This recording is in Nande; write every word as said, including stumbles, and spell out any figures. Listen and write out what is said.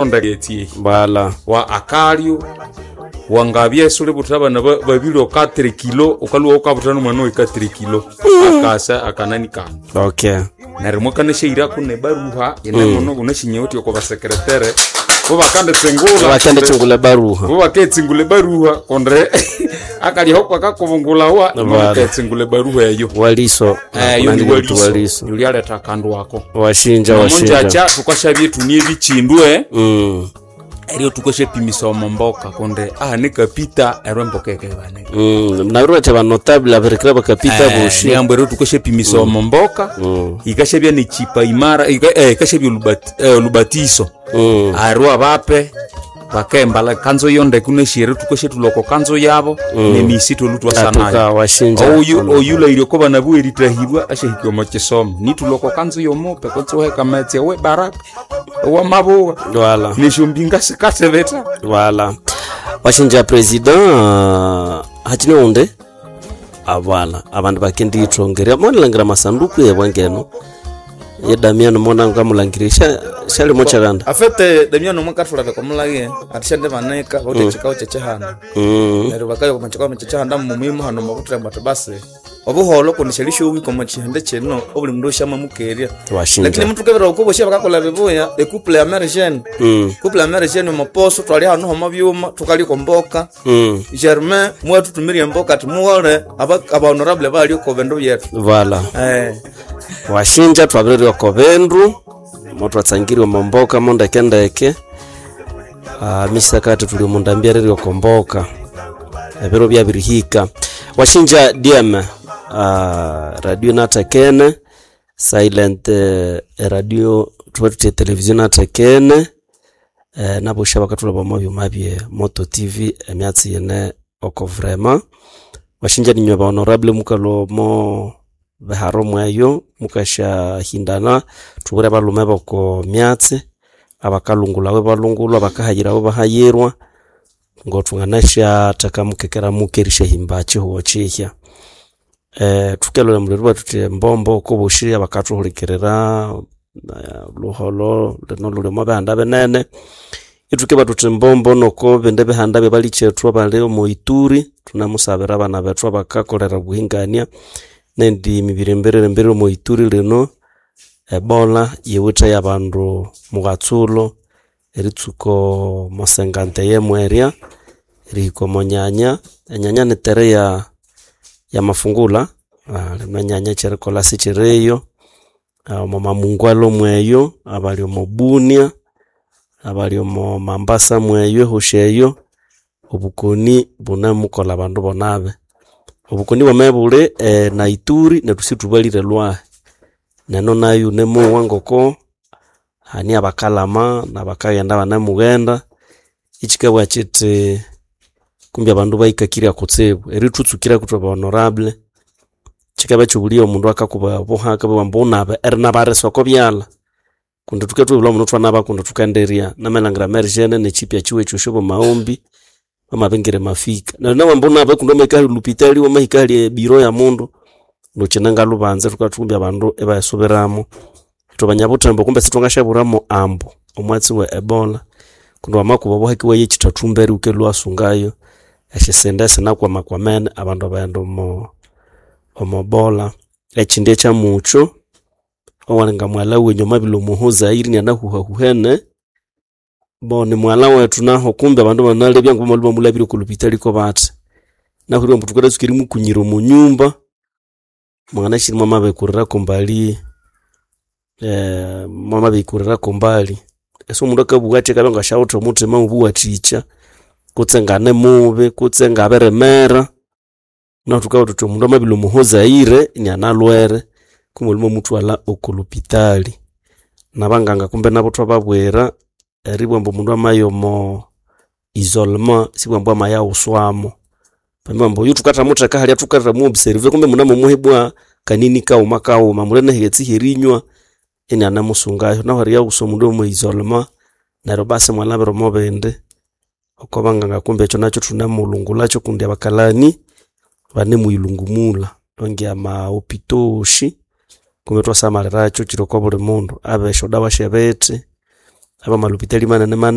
Ndetsi Voilà. Wa akalyo wangabya suli butha abana ba- babiri okatere kilo, ukalwa ukabutha nomwana wekatere kilo akasa akanani kanu. Okay. Neryo mwakanashairako nebaruha inemono unashinyewuthi oko basekretere bo bakanditsingula. Bakanditsingula baruha. Bo baketsingula ebaruha konde akalyaho kwakakubungulawa. Voilà. Baketsingula ebaruha eyo. Waliso. Eh, yo ni Kunandi waliso. waliso. Yulialetha akandu ako. Washinja, washinja. Omonjacha tukashabye tunie ebichindwe. Mm. Eryo tukashapimisa omomboka konde ahane kapita eryo emboka ekebane. Mm. Nabirwacha ba notable abirikira bakapita boshi. Niambo eryo tukashapimisa omomboka. Mm. Ikashabya nechipa imara ika- eh, ikashabya olubati- eh, olubatiso. Mm. Arwa bape bakembala kanzo yonde kuneshiere tukashetuloko kanzo yabo nemisi tolutwasanayo. Atuka washinja. Oyu oyulaire ko bana bweritahibwa ashahikwa omu kisomo nituloko kanzo yomupe kotsoheka metsi we baraka owa mabuwa. Voilà. Neshombinga sikatebeta. Voilà. Washinja president uh, hachine unde avala abandu bakendiyithongerya monalangira masanduku yebwangeno ye Damiano mona ngamulangira sha shalimo chakanda. Afete Damiano mwakathulala komulage atishande banika bauti chikao chechehanda. Mm. Neryo bakayo komachikao chechehanda mumuhimu hano makuthira ati basi obuholo kundi shalishowi komachihande chino obuli mundu oshamamukerya. Lakini Washinja. muthu kebera okubosha bakakola bibuya ecouple ya Mary Mm. couple ya Mary Jane omoposo twali hano homa byuma tukaliko mboka. Mm. Germain mwatutumirie mboka timughole aba aba honorable bali ko bindu byetu. Voilà. Eh. Washinja twabirirwa ko bindu motwatsangirwe momboka mondekendeke. uh, misakati tuli mundambiarirwe komboka ebiro byabirihika washinja D M uh, radio natekene silent uh, radio tuba tutie television natekene eh, nabosha bakatula bamo byuma bye Moto T V emyatsi yene oko vraiment washinja ninywe ba honorable mukalo mo beharo mweyo mukashahindana tubure balume boko myatsi abakalungulawe balungulwa abakahayirawe bahayirwa ngothunganasha mukekera mukerisha himba chihuo chihya eh tukelole muliro batuti mbombo kubushi abakathuhulikirira eh, luholo lino lulimo bihanda binene ituke batuti mbombo noko bindi bihanda byebalichethu abali omu Ituri tunamusabira abana bethu abakakolera obuhingania nendi mibiri mbiriri mbiriri omu Ituri lino Ebola yiwithe yabandu mughatsulo eritsuko mosengante yemwerya erihika omonyanya enyanya nitere ya ya mafungula ah, lino enyanya ekyerikolha sikyiriyo. Ah, omo mamungwalo mweyo abali omo Bunia abali omo Mambasa mweyo ehosi eyo obukoni bunemukolha abandu bonabe obukoni bwame buli eh, na Ituri nethu sithubalire lwahi neno nayo nemowa ngoko hani abakalama nabakaghenda banamughenda ichikabwa kyithi kumbi abandu bahikakirya kutsibu erithutsukira kuthwa ba honorable kikaba kyibuliya omundu akakuba obuhaka bwa ambu unabe erinabarisa oko byalha kundi thukethubulha muno thwanaba kundi thukendirya namalhangira Mary Jane nekyipya kyiwe ekyo bamaghombi bamabingira mafika neryo nawe ambu unabe kundi wamahika ahali lupitali wamahika ahali ebiro ya mundu ndukyine lubanza thukathumbi abandu ibayisubiramo ithwe banyabuthembo kumbe sithwangasyaburamo ambu omwatsi we Ebola kundi wamakuba obuhaki waye ekyithathu mbere wukelwa wasungayo esyisinde sinakwamakwamene abandu abaghenda omo omobola ekyindi ekyamukyo owalinga mwalha wenyu amabila omuho Zaire inanahuhahuhene bo ni mwalha wethu naho kumbe abandu banalebya ngoku bamulabire oko lupitali ko bathi nahurire ambu thukalatsuka erimukunyira omo nyumba mwanganashiri mwamabikurira mbali eh, mwamabikurira mbali esi omundu akabugha athi akabya ngasyawithe omuthima obuwathikya kutse ngane mubi kutse ngabirimera nahu thukabugha thuthi omundu amabila omuho Zaire inianalwere kumbe muthwalha oko lupitali nabanganga kumbe nabo thwababwira eribugha ambu omundu amaya omo isolement sibugha ambu amayaghuswamo bambi ambu oyu thukathamutheka halya thukathamu observe kumbe munamomuhebwa kanini kaghuma kaghuma muli nehighetse herinywa inianamusungayo nahu eriyaghusa omundu omo isolement neryo basi mwalhabira omo bindi oko banganga kumbe ekyo nakyo thunemulungulakyo kundi abakalani banemuyilungumulha ongi ama hôpitaux osi kumbe thwasamalhirakyo kyiri oko buli mundu abe esyodawa syebithi abe amalupitali manene manene.